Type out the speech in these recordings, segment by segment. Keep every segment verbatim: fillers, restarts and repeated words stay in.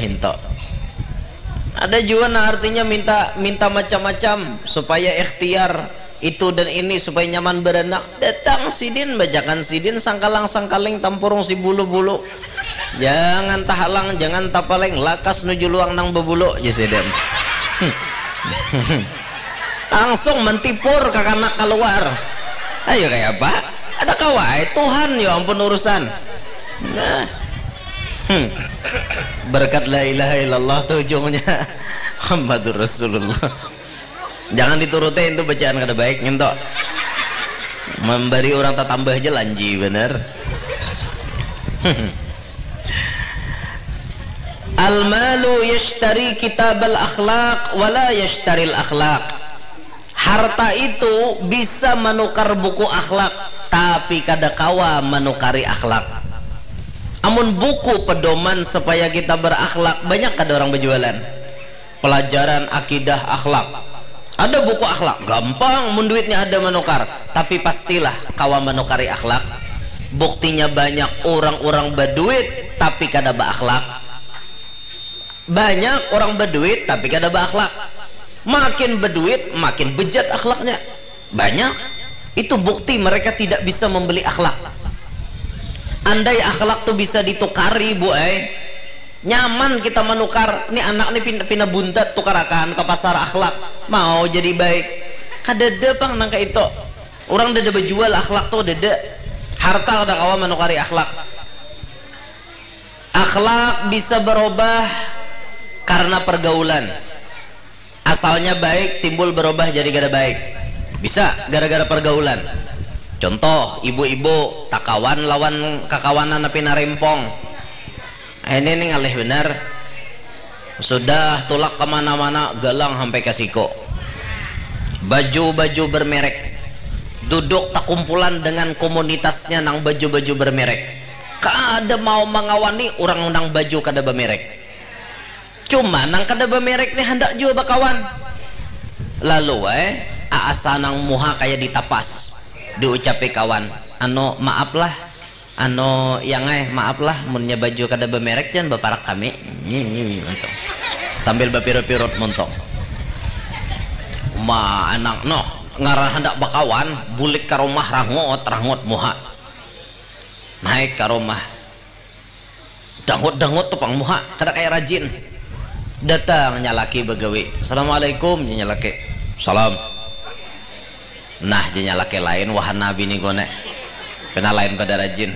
Minta. Ada jua nah artinya minta minta macam-macam supaya ikhtiar itu dan ini supaya nyaman beranak. Datang sidin bajakan sidin sangkalang-sangkaling tampurung si bulu-bulu. Jangan tahalang, jangan tapaling, lakas nuju luang nang bebulu, jar sidin. Langsung mentipur kakanak keluar. Ayo kayak apa? Ada kawai Tuhan, ya ampun urusan. Nah. Hmm. Berkat la ilaha illallah tuh ujungnya Muhammadur Rasulullah. Jangan diturutin itu bacaan kada baik nginto. Memberi orang tatambah aja lanji bener. Al-malu yashtari kitabal akhlaq wala yashtaril akhlaq. Harta itu bisa menukar buku akhlak, tapi kada kawa menukari akhlak. Amun buku pedoman supaya kita berakhlak, banyak kada orang berjualan. Pelajaran akidah akhlak. Ada buku akhlak, gampang mun duitnya ada menukar, tapi pastilah kawa menukari akhlak. Buktinya banyak orang-orang berduit tapi kada berakhlak. Banyak orang berduit tapi kada berakhlak. Makin berduit makin bejat akhlaknya. Banyak. Itu bukti mereka tidak bisa membeli akhlak. Andai akhlak tuh bisa ditukari, Bu ai. Nyaman kita menukar. Nih anak nih pina, pina buntat tukarakan ke pasar akhlak. Mau jadi baik. Kadada pang nang kayak itu. Orang dada berjual akhlak tuh dada. Harta kada kawa menukari akhlak. Akhlak bisa berubah karena pergaulan. Asalnya baik timbul berubah jadi kada baik. Bisa gara-gara pergaulan. Contoh, ibu-ibu takawan lawan kakawanan api narempong. Ini nih ngalih benar. Sudah tulak kemana-mana galang sampai ke siko. Baju-baju bermerek. Duduk takumpulan dengan komunitasnya nang baju-baju bermerek. Kada mau mengawani orang nang baju kada bermerek. Cuma nang kada bamerek ni handak jua bakawan. Lalu ai, aasa nang muha kaya ditapas. Diucapi kawan, anu maap lah, anu yang ai, maap lah munnya baju kada bamerek jan baparak kami. Nyi, nyi, nyi, montok. Sambil bapirut-pirut montok. Ma anak noh, ngaran handak bakawan, bulik ka rumah rangut, rangut muha. Naik ka rumah. Dangut-dangut tu pang muha, kada kaya rajin. Datang nya laki bagawi. Assalamualaikum, jar nya laki. Salam. Nah, jar nya laki, lain wahana bini ku ne. Pina lain pada rajin.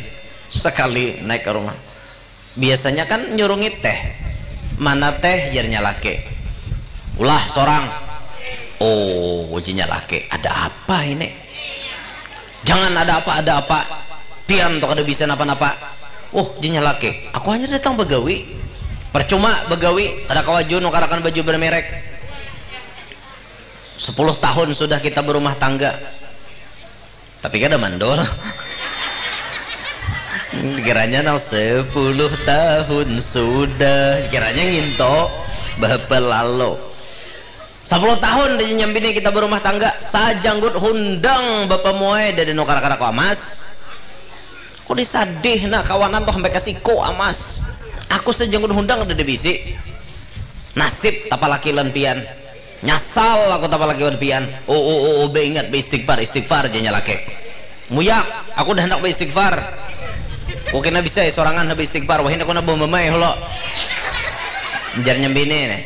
Sakali naik ka rumah. Biasanya kan nyurungi teh. Mana teh, jar nya laki. Ulah sorang. Oh, jar nya laki. Ada apa ini? Jangan ada apa, ada apa. Pian tu kada bisa napa-napa. Uh, jar nya laki, aku hanyar datang bagawi. Percuma bagawi, kada kawa jua nukarakan baju bermerek. Sepuluh tahun sudah kita berumah tangga. Tapi kada mandor. Kiranya nang sepuluh tahun sudah, kiranya nginto bahapa lalo. Sapuluh tahun dah jar nya bini kita berumah tangga, sajanggut hundang bapa muai dada nukar kada kawa mas. Aku ni sadih nah kawanan tu sampai ka siko amas. Aku sajanggut hundang dada bisi. Nasib tapalaki lawan pian. Nyasal aku tapalaki lawan pian. Oh, oh, oh, oh, baingat, baistigfar, istigfar jar nya laki. Muyak, aku dah handak baistigfar. Ku kena bisa ai sorangan ha baistigfar, wahini aku na bamamai hulo. Jar nya bini nih.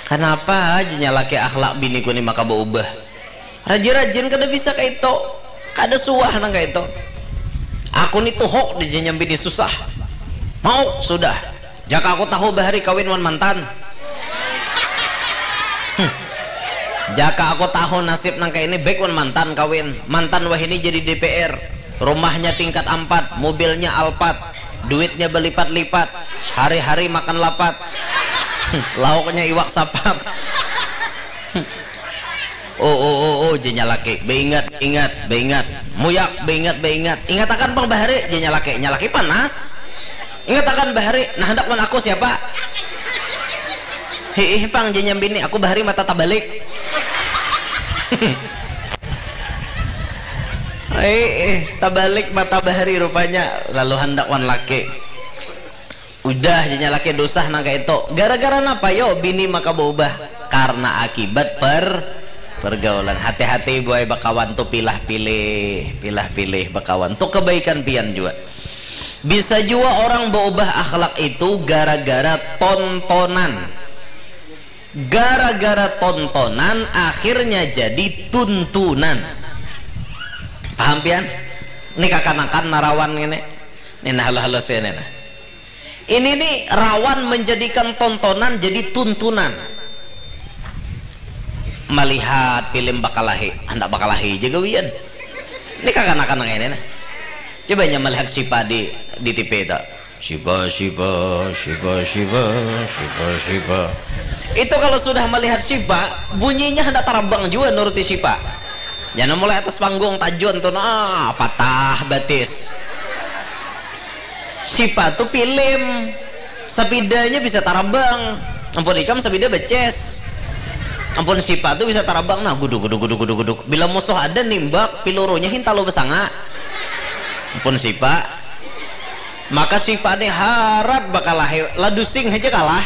Kanapa jar nya laki akhlak biniku ni maka baubah? Rajin-rajin kada bisa kaitu. Kada suah nang kaitu. Aku ni tuhuk jar nya bini susah. Mauk sudah. Jaka aku tahu bahari kawin wan mantan. Hmm. Jaka aku tahu nasib nang kaya ini, baik wan mantan kawin. Mantan wahini jadi D P R. Rumahnya tingkat ampat, mobilnya Alphard, duitnya balipat-lipat, hari-hari makan lapat. Hmm. Lauknya iwak sapat. Hmm. Oh, oh, oh, oh, jar nya laki. Baingat, ingat, baingat. Muyak, baingat, baingat. Ingatakan pang bahari, jar nya laki. Nya laki panas. Ingatakan bahari, nah handak wan aku siapa? Hiih pang, jar nya bini, aku bahari mata tabalik. Hiih, tabalik mata bahari rupanya, lalu handak wan laki. Udah jadinya laki dosa nang kayak itu. Gara-gara napa yo bini maka berubah? Karena akibat per pergaulan. Hati-hati buai bakawan tuh pilah-pilih, pilah-pilih bakawan tuh kebaikan pian juga. Bisa juga orang berubah akhlak itu gara-gara tontonan. Gara-gara tontonan akhirnya jadi tuntunan. Paham pian? Ini kakanakan narawan ini. Ini nah halus-halus ini nah. Ini nih rawan menjadikan tontonan jadi tuntunan. Melihat film bakalahi, hendak bakalahi aja gawian. Ini kakanakan kayak ini nah. Coba nya melihat Sipa di di T V itu. Sipa, Sipa, Sipa, Sipa, Sipa, Sipa. Itu kalau sudah melihat Sipa, bunyinya hendak tarabang juga nuruti Sipa. Jangan mulai atas panggung tajun tuh nah patah batis. Sipa tuh film. Sapidanya bisa tarabang. Ampun ikam sapida beces. Ampun Sipa tuh bisa tarabang nah guduk guduk guduk guduk guduk. Bila musuh ada nimbak pilurunya hintalu besanga. Ampun Sipa. Maka Sipa nih harat bakalahi ladusing aja kalah.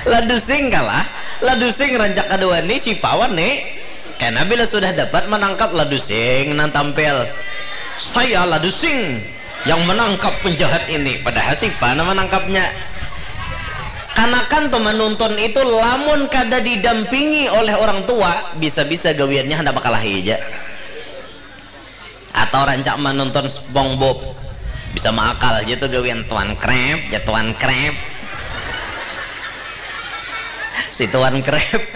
Ladusing kalah. Ladusing rancak kedua nih Sipa wan nih. Karena bila sudah dapat menangkap ladusing nang tampil. Saya ladusing yang menangkap penjahat ini, padahal Sipa nama nangkapnya. Kanakan tuh menonton itu lamun kada didampingi oleh orang tua bisa-bisa gawiannya hendak bakalahi aja. Atau rancak menonton SpongeBob bisa maakal aja tuh gawian tuan krep ya tuan krep. Si tuan krep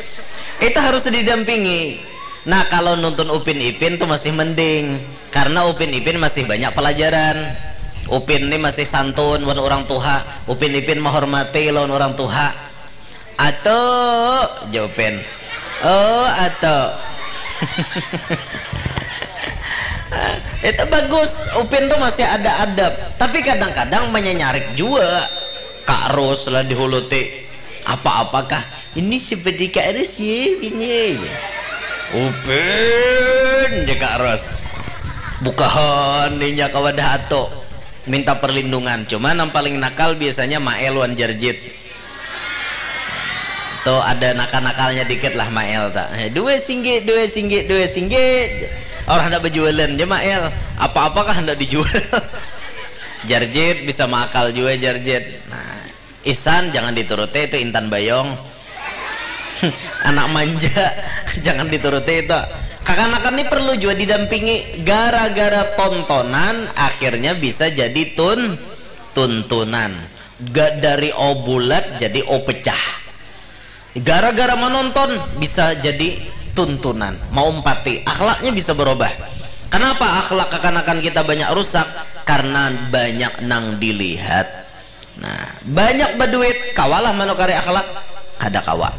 itu harus didampingi. Nah kalau nonton Upin Ipin tuh masih mending. Karena Upin Ipin masih banyak pelajaran. Upin ini masih santun wan orang tuha. Upin Ipin menghormati lawan orang tuha. Atu, ja Upin. Oh, atu. Itu bagus. Upin tuh masih ada adab. Tapi kadang-kadang menyenyarik juga. Kak Ros lah dihuluti. Apa-apakah ini seperti Kak Ros ya bini ya. Upin je Kak Ros. Bukahan inya ka wadah ato minta perlindungan. Cuma nang paling nakal biasanya Mael wan Jarjit. Tuh ada nakal-nakalnya dikit lah Mael tak. Dua singgit, dua singgit, dua singgit. Orang hendak berjualan je Mael. Apa-apakah hendak dijual. Jarjit bisa makal juga Jarjit. Nah, Isan jangan dituruti itu intan bayong. Anak manja jangan dituruti itu. Kakanakan ini perlu juga didampingi gara-gara tontonan akhirnya bisa jadi tun tuntunan. Gak dari o bulat jadi o pecah. Gara-gara menonton bisa jadi tuntunan, maumpati, akhlaknya bisa berubah. Kenapa akhlak kekanakan kita banyak rusak? Karena banyak nang dilihat. Nah, banyak berduit, kawalah menukari akhlak, kada kawa.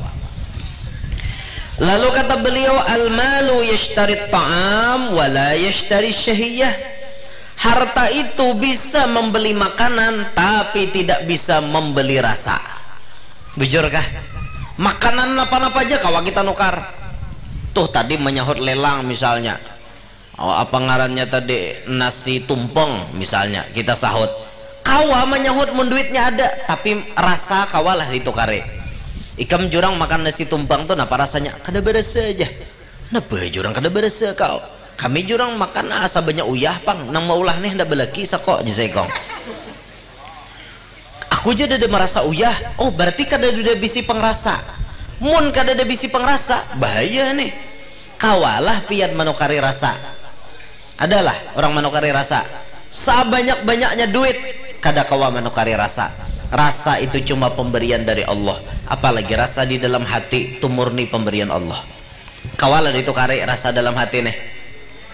Lalu kata beliau, al malu yashtari ta'am wala yashtari syahiyah. Harta itu bisa membeli makanan tapi tidak bisa membeli rasa. Bujurkah? Makanan napa-napa aja kawa kita nukar. Tuh tadi menyahut lelang misalnya. Oh, apa ngarannya tadi nasi tumpeng misalnya kita sahut. Kawa menyahut mun duitnya ada, tapi rasa kawalah ditukari. Ikam jurang makan nasi tumpeng tuh napa rasanya? Kada berasa aja. Napa jurang kada berasa kau? Kami jurang makan asa banyak uyah pang nang maulah nih ndak belaki sako jisai kong. Aku ja dada merasa uyah. Oh, berarti kadada bisi pengrasa. Mun kadada bisi pengrasa, bahaya nih. Kawalah pian manukari rasa. Adalah orang manukari rasa. Sabanyak-banyaknya duit, kada kawa manukari rasa. Rasa itu cuma pemberian dari Allah. Apalagi rasa di dalam hati itu murni pemberian Allah. Kawa lah ditukari rasa dalam hati nih.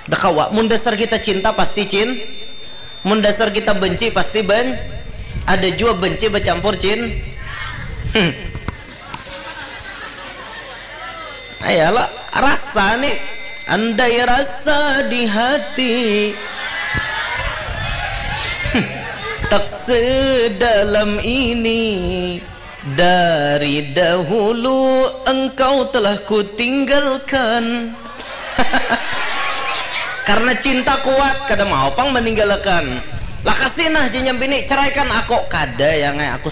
Dah kawa, mun dasar kita cinta pasti cin, mun dasar kita benci pasti ben, ada jua benci bercampur cin. Hmm. Ayalah rasa nih, andai rasa di hati tak sedalam ini. Dari dahulu engkau telah kutinggalkan. Karena cinta kuat, kada mau pang meninggalkan. Lah kasih nah jinnya bini, ceraikan aku. Kada ya ngai, aku